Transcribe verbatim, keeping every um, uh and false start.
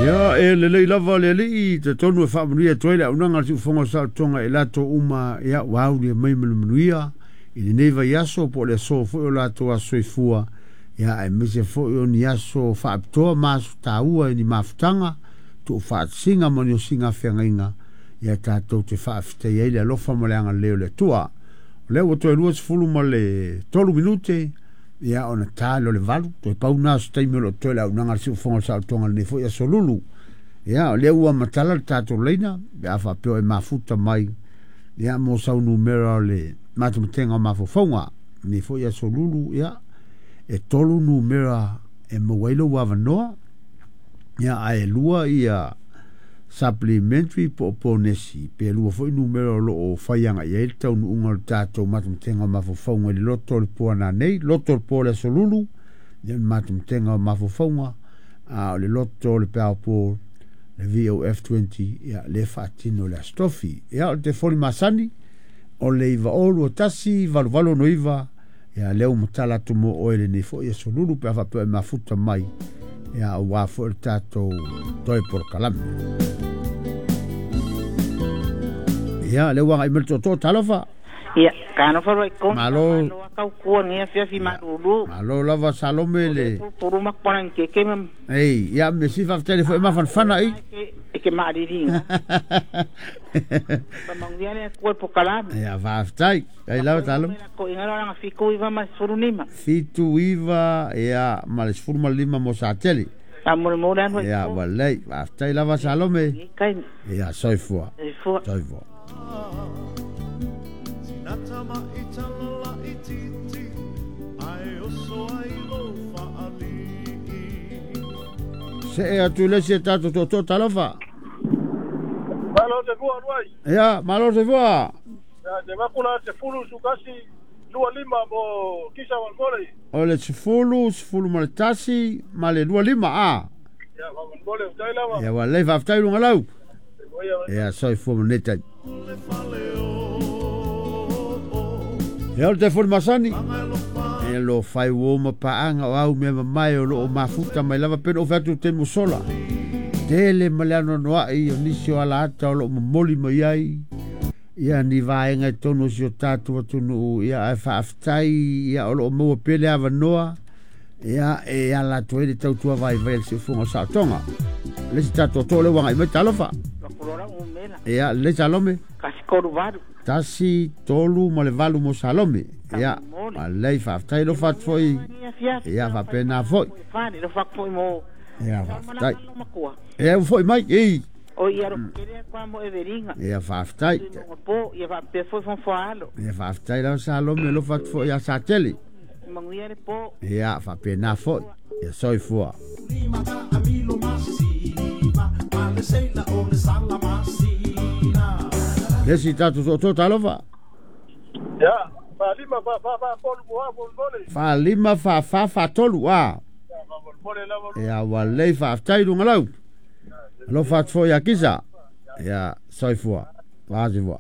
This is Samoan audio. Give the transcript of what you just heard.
Ia e lelei lava le alii te tonu e faamanuia atu ai le auaunaga a le Siufofoga o Saolotoga i latou uma ia ua aulia mai ma le manuia i lenei vaiaso po o le aso foi o latou aso soifua ia aemaise foi o ni aso faapitoa ma aso taua i ni mafutaga tuufaatasiga ma ni osiga feagaiga ia tatou te faafetaia ai le alofa ma le agalelei o le Atua. O lea ua toe luasefulu ma le tolu minute ia ona ta lea o le valu toe pau na o se taimi o loo toe le auaunaga a le Siufofoga o le Saolotoga i lenei foi aso Lulu. Ia o lea ua matala le tatou laina pe a faapea o e mafuta mai ia mo sau numera o le matematega o mafaufauga lenei foi aso Lulu. Ia e tolu numera e maua ai lou avanoa ia ae lua ia supplementary po o ponesi pe lua foi numera o loo fai agai ai le taunuuga o le tatou matematega o mafaufauga i le loto o le po ananei loto o le po o le aso Lulu ia le matematega o mafaufauga a o le loto o le Powerball le V O F twenty ia le faatino le Aso Tofi. Ia o le telefoni masani o le iva o lua tasi valu valu ono iva ia lea ua matala atu mo oe lenei foi aso Lulu pe a faapea e mafuta mai ia aua foi le tatou toe polokalame. Ia lea ua agai mai le tootoo talofa. Ia, kanofa roi kong. Malo. Malo kau kua ngia fia fi malulu. Malo lava Salome le. Puru makpana ke ke mam. Ei, ia me si fa tele foi mafanafana i. E ke maariri. Pa mangia le kua pokalame. Ia faafetai. Ai lava Salome. Ko ingara nga fiku iva ma sefulu nima. Fitu iva ia ma le sefulu ma le lima mo Satele. A mo mo le anu. Ia walei, faafetai lava Salome. Kai. Ia soifua. Soifua. Soifua. Se e atu le se tatou tootoo talofa. Malo te fua ruai. Ia, malo te fua. Ia, te makula te fulu sukasi lua lima mo kisa wankole. O le sefulu, sefulu ma le tasi, ma le lua lima, a. Ia, wankole, utai lava. Ia, walei, faafetai lunga lau. Ia, soifua ma nei taimi. Ia, o le telefoni masani. E lo fai uo ma paanga o au mea mamae o loo mafuta mai lava pena o fai atu te musola. Tele ma le anoanoai o nisi o ala ata o loo momoli mai ai. Ia ni vaega i tonu o si o tatou atunuu ia ae faafetai ia o loo maua pea le avanoa ia e ala atu ai le tautua vaivai a le Siufofoga o Saolotoga. Le isi tatou tootoo lea ua agai mai talofa. Ia le Salome. Kasi tolu valu. Tasi tolu ma le valu mo Salome. Ia alei faafetai lo fatu foi. Ia faapena foi. Ia faafetai. Ia ua foi mai ei. O ia ro kere kwa mo everinga. Ia faafetai. Po ia faapea foi fonfoalo. Ia faafetai lau Salome lo fatu foi ia Satele. Manguia le po. Ia faapena foi. Ia soifua. Le si tatou tootoo talofa. Ia, fa lima fa fa fa tolu mo mo mole. Fa lima fa fa fa tolu a. Ia walei faafetai lunga lau. Alofa atu foi ia Kisa. Ia soifua. Soifua.